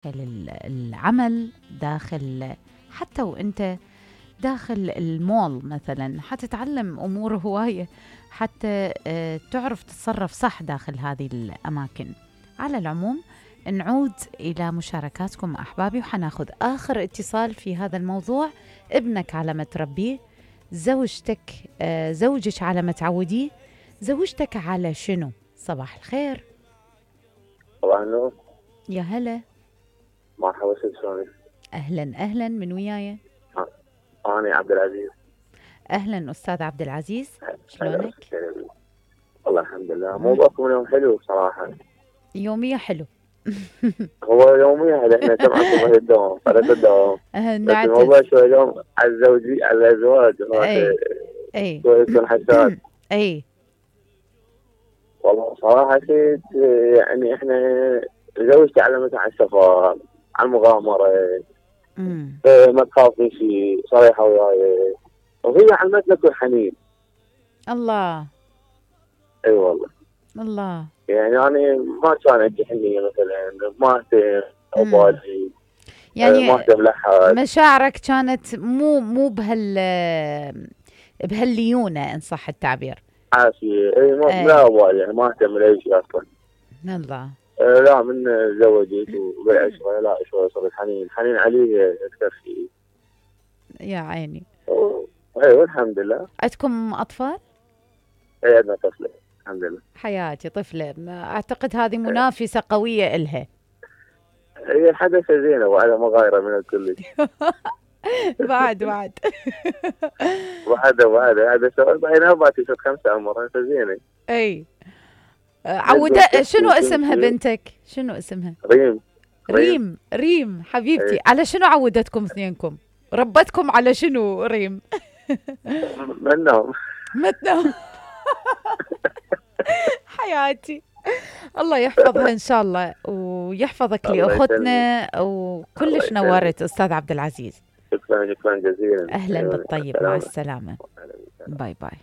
العمل، داخل حتى وانت داخل المول مثلا حتتعلم أمور هواية حتى تعرف تتصرف صح داخل هذه الأماكن. على العموم نعود إلى مشاركاتكم أحبابي، وحناخذ آخر اتصال في هذا الموضوع. ابنك على ما تربيه، زوجتك زوجك على ما تعوديه، زوجتك على شنو؟ صباح الخير. صباح النور. يا هلا. مرحبا، شلونك؟ أهلا أهلا، من وياي؟ أنا عبد العزيز. أهلا أستاذ عبد العزيز، شلونك؟ والله الحمد لله. موضوعكم اليوم حلو بصراحة. يومية حلو. هو يومية احنا سمعكم في الدوام قناة الدوام. بس الموضوع شوي اليوم على الزوجي على الزواج. اي يكون حساس. اي والله صراحة شيء يعني احنا زوجتي علمتنا على السفر، على المغامرة، ما تخافي شيء، صريحة وياي، وهي علمتنا كل حنين. الله. اي والله. الله. يعني أنا ما كان عندي حنية مثلا، ما اهتم أبالي، يعني ما اهتم لحد. مشاعرك كانت مو بهالليونة إن صح التعبير. عافية. اي لا أبالي، يعني ما اهتم لأي شيء أصلا. الله. لا من زوجت وبالعشرة لا شوي صرت حنين عليه أكثر شيء. يا عيني. ايوه الحمد لله. عندكم أطفال؟ اي عندنا طفلة الحمد لله. حياتي طفلة، أعتقد هذه منافسة قوية إلها. هي حدث زينة وعلى مغايرة من الكل. بعد هذا سؤال بعدين باتي 5 عمر زينة. اي شنو اسمها بنتك؟ شنو اسمها؟ ريم حبيبتي. ايه. على شنو عودتكم اثنينكم؟ ربتكم على شنو ريم؟ منهم حياتي. الله يحفظها ان شاء الله ويحفظك لاختنا، وكلش نورت استاذ عبد العزيز. شكرا جزيلا. اهلا بالطيب، مع السلامة. باي باي.